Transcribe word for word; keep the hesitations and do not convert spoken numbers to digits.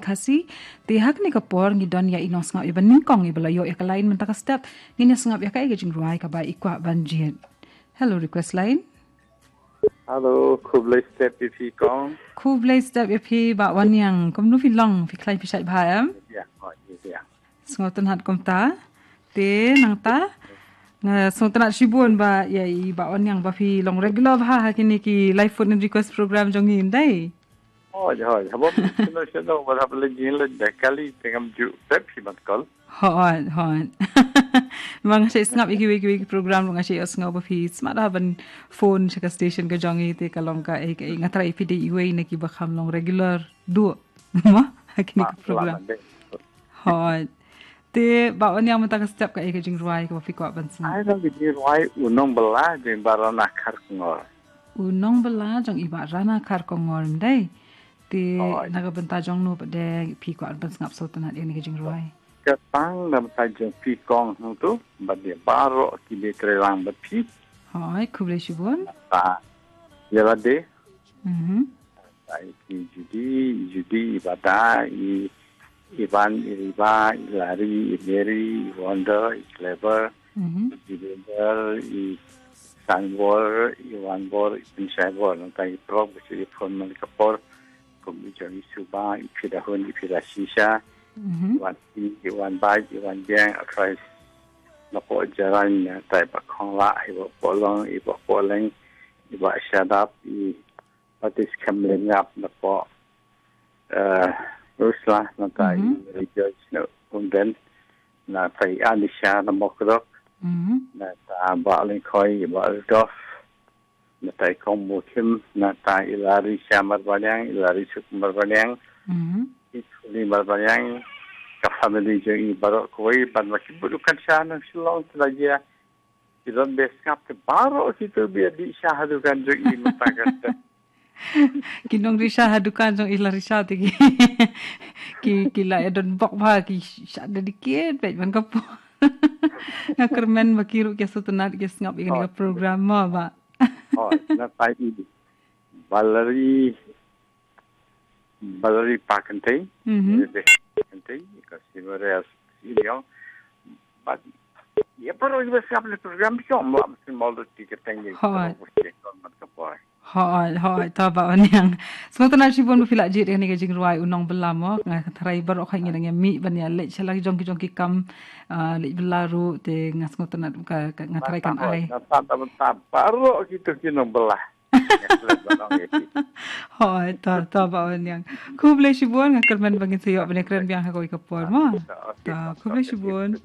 Khasi. Te ha kane ka por ngi don ïa i nongsngap iba nyngkong iba la ïoh ïa ka line mynta ka step. Ngin ïa sngap ïa ka, ïa ka jingrwai kaba i kwah ban jied. Hello, request line. Hello, khublei step ïa phi kong. Khublei step ïa phi Bah Wanniang. Kumno phi long, phi khlaiñ phi shait bha em? Ïa, oh, ïa, ïa. Sngewtynnat kumta. Te nangta nga sngewtynnat shibun ba ïa i Bah Wanniang ba phi long regular bha ha kine ki live phone in request program jong ngi, ym dei? Hooid, hooid. Haba phi kynnoh shnong ba haba leit jingïaleit da kali te ngam ju pep phi ban call. Hooid, hooid. Ma nga shait sngap ïa kiwei kiwei ki program ruh nga shait ïohsngew ba phi smat ha ban phone sha ka station ka jong ngi, te ka long kaei kaei, nga tharai phi dei iwei na kiba kham long regular duh. Mo? Ha kine ki program. Hooid. Te Bah Wanniang mynta ka step kaei ka jingrwai kaba phi kwah ban sngap? Ai, long ka jingrwai U Nongbylla jong i Bah Rana Kharkongor. U Nongbylla jong i Bah Rana Kharkongor, ym dei? Te na ka bynta jong no pat de phi kwah ban sngap sngewtynnat ïa kane ka jingrwai? Ka tang na ka bynta jong phi kong hangto bad ïa baroh kiba treilang bad phi. Hooid, khublei shibun. Ba ïa lade. Mhm. Ba i Judy, i Judy, i Bada, i Ivan, i Riva, i Larry, i Mary, i Wonder, i Clever, mhm, i Jibinder, i Sanbor, i Wanbor, i Pensaibor. Nangta i Prok, ba shu ïa phone man ka por. Kum i jong i Suba, i Pidahun, i Pidashisha, mhm, i Wan Pi, i Wan Bai, i Wan Biang, a Christ. Napoh Jarain, nangta i Bah Khongla, i Bah Polong, i Bah Poleng, i Bah Shadap, i Batis Kemlengap, napoh, eh, Rusla, nangta i, mhm, Rejoice na Umden, nangta i Anisha na Mokdok, mhm, nangta Bah Lengkhoi, i Bah Rudolf, nangta i Kong Mukim, nangta i Larry Shamar Baliang, i Larry Suk Marbaliang, mhm, i Suli Marbaliang, ka family jong i baroh kawei, bad ma ki bud dukan sha na Shillong, te la jia ki don be sngap te baroh kito ba ïa dih sha ha dukan jong i mynta ka step. Ki nongdih sha ha dukan jong i Larry Shah te ki, ki, ki la ïa don bok bha, ki shah dedicate bad man ka por. Nga kyrmen ba ki ruh ki sngewtynnat ki sngap ïa kane ka program mo Bah. Oh, nangta i Valerie, Valerie Pakentei, mhm, Valerie Pakentei, ka Simaria Siliong, bad ïa baroh ïa ba sngap ïa kane ka program, ki ong ba mesti mol dot ki kyrteng ïa, hooid, ka baroh ba sngap ïa kane ka por. Hooid, hooid, to Bah Wanniang. Sngewtynnat shibun ba phi la jied ïa kane ka jingrwai U Nongbylla mo, nga tharai baroh kawei ngi dang ïa mih ban ïa leit sha la ki jong ki jong ki kam, ah, leit bylla ruh, te nga sngewtynnat ka, ka, nga tharai kan ai. Nangta, nangta, nangta baroh kito ki nongbylla. Hooid, to, to Bah Wanniang. Khublei shibun, nga kyrmen ba ngin sa ïoh ban ïakren biang ha kawei ka por mo. To, khublei shibun.